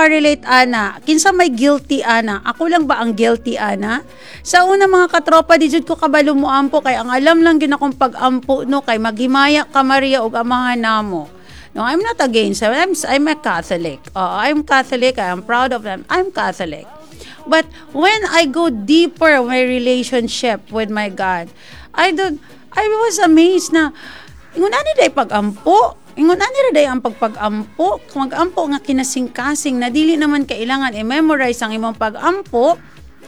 maka-relate ana? Kinsa may guilty ana? Ako lang ba ang guilty ana? Sa una, mga katropa, di jud ko kabalo mo ampo kay ang alam lang gyud akong pag-ampo, no, kay maghimaya ka Maria ug Amahan namo. No, I'm not against. I'm a Catholic. I'm Catholic. I am proud of them. I'm Catholic. But when I go deeper my relationship with my God, I don't I was amazed na ingon ani day pag-ampo. Ingon ani ra day ang pagpag-ampo. Mag-ampo nga kinasing-kasing na dili naman kailangan i-memorize ang imong pag-ampo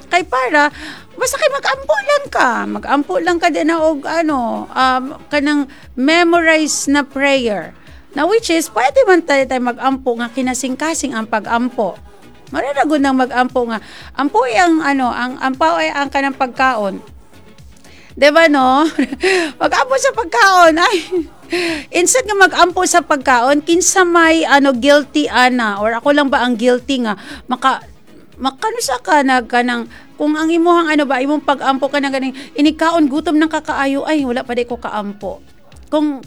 kay para basta kay mag-ampo lang ka, mag-ampo lang ka din na og ano, kanang memorize na prayer na, which is pwede man tayo, tayo mag-ampo nga kinasing-kasing ang pag-ampo. Mararagon nang mag-ampo nga ampo ang ano, ang ampaw ay ang kanang pagkaon. 'Di ba, no? Mag-ampo sa pagkaon ay instead nga mag-ampo sa pagkaon, kinsa may ano, guilty ana, or ako lang ba ang guilty nga maka makano sa ka nag kanang kung ang imuhang ano ba, imong pag-ampo ka na ganing inikaon, gutom ng kakaayo, ay, wala pa di ko kaampo. Kung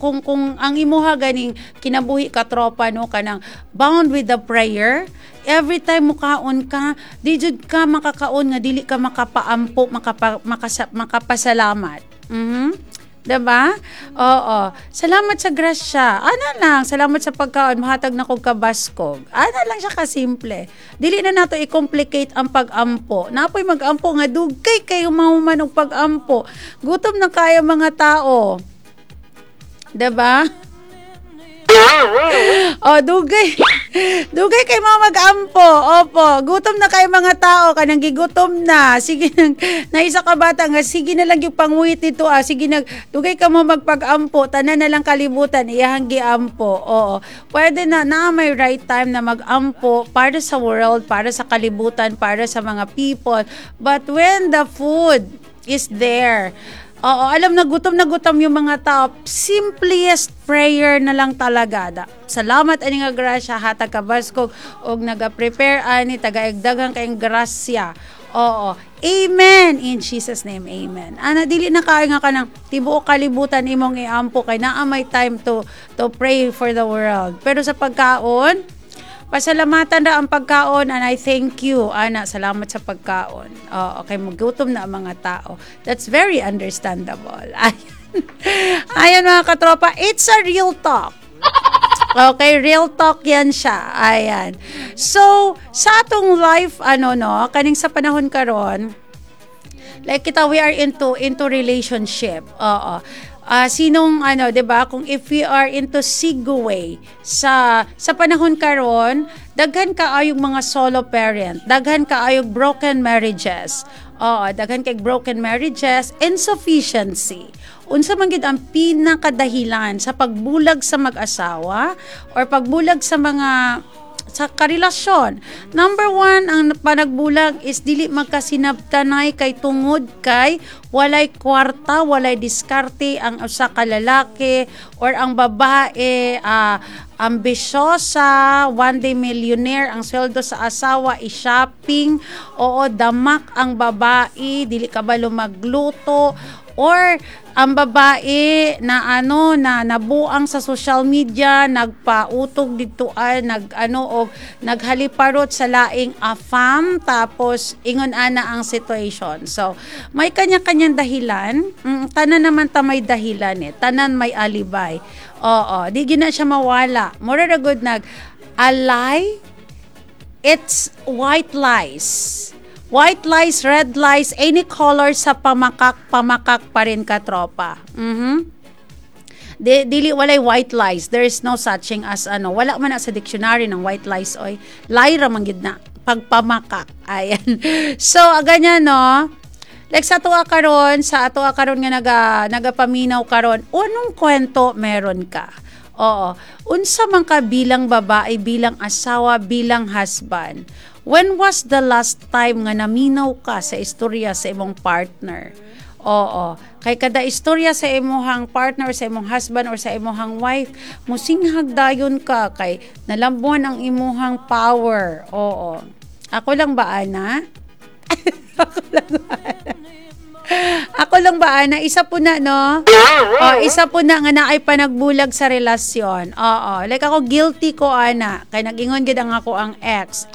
ang imuha ganing kinabuhi, ka tropa, no, kanang bound with the prayer, every time mukaon ka, di jud ka makakaon nga dili ka makapaampo, makapasalamat. 'Diba? Oo. Salamat sa grasya. Ana lang, salamat sa pagkaon, mahatag na kog kabaskog. Ana lang siya kasimple. Dili na nato i-complicate ang pag-ampo. Napoy mag-ampo nga dugay kayo mahuman og pag-ampo. Gutom na kayo mga tao. 'Di ba? Oh, dugay. Dugay kay mga mag-ampo. Opo, gutom na kayo mga tao, kanang gigutom na. Sige nang naisa ka bata nga sige na lang yung pangwit nito ah. Sige nag dugay ka mo magpag-ampo, tanan na lang kalibutan iyahang giampo. Oo. Pwede na na may right time na mag-ampo para sa world, para sa kalibutan, para sa mga people. But when the food is there, oo, alam na gutom yung mga tao. Simplest prayer na lang talaga. Da. Salamat ani nga grasya, hatag kabaskog og naga-prepare ani tagaeg daghan kayong grasya. Oo. Amen. In Jesus' name, amen. Ana, dili na kaayo nga kanang tibuok kalibutan imong iampo kay naa may time to pray for the world. Pero sa pagkaon, pasalamatan ra ang pagkaon and I thank you. Ana, salamat sa pagkaon. Oo, okay, magutom na ang mga tao. That's very understandable. Ayan. Ayan, mga katropa, it's a real talk. Okay, real talk yan siya. Ayan. So, sa atong life, ano no, kaning sa panahon karon, like kita, we are into relationship. Oo. Sinong ano, 'di ba? Kung if we are into segue sa panahon karon, daghan kaayong mga solo parent, daghan kaayong broken marriages. Oo, daghan kay broken marriages, insufficiency. Unsa man gid ang pinakadahilan sa pagbulag sa mag-asawa or pagbulag sa mga sa karelasyon? Number one, ang panagbulag is dili magkasinabtanay kay tungod kay walay kwarta, walay diskarte ang usa ka lalaki or ang babae, ambisyosa, one day millionaire, ang sweldo sa asawa i-shopping, oo, damak ang babae, dili kabalo magluto, or ang babae na ano na nabuang sa social media, nagpautog dito ay nag ano og naghaliparot sa laing afam, tapos ingon ana ang situation. So may kanya-kanyang dahilan. Tanan naman ta may dahilan eh, tanan may alibay. Oo, di gina siya mawala. Mura ra gud nag a lie, it's white lies. White lies, red lies, any color sa pamakak, pamakak pa rin, katropa. Di, dili walay white lies. There is no such thing as ano, wala man na sa dictionary ng white lies oy. Lie ra man gid na pagpamakak. Ayan. So, ganyan no. Like sa atoa karon nga nagapaminaw karon, unong kwento meron ka? Oo. Unsa man ka bilang babae, bilang asawa, bilang husband? When was the last time nga naminaw ka sa istorya sa imong partner? Oo. Kay kada istorya sa imong partner or sa imong husband or sa imong wife, musinghag dayon ka kay nalambuan ang imuhang power. Oo. Ako lang ba ana? Ako lang ba ana? Ako lang ba ana? Isa po na, no? Oh, isa po na nga naay panagbulag sa relasyon. Oo. Like ako, guilty ko ana. Kay nag-ingon gid ang ako ang ex.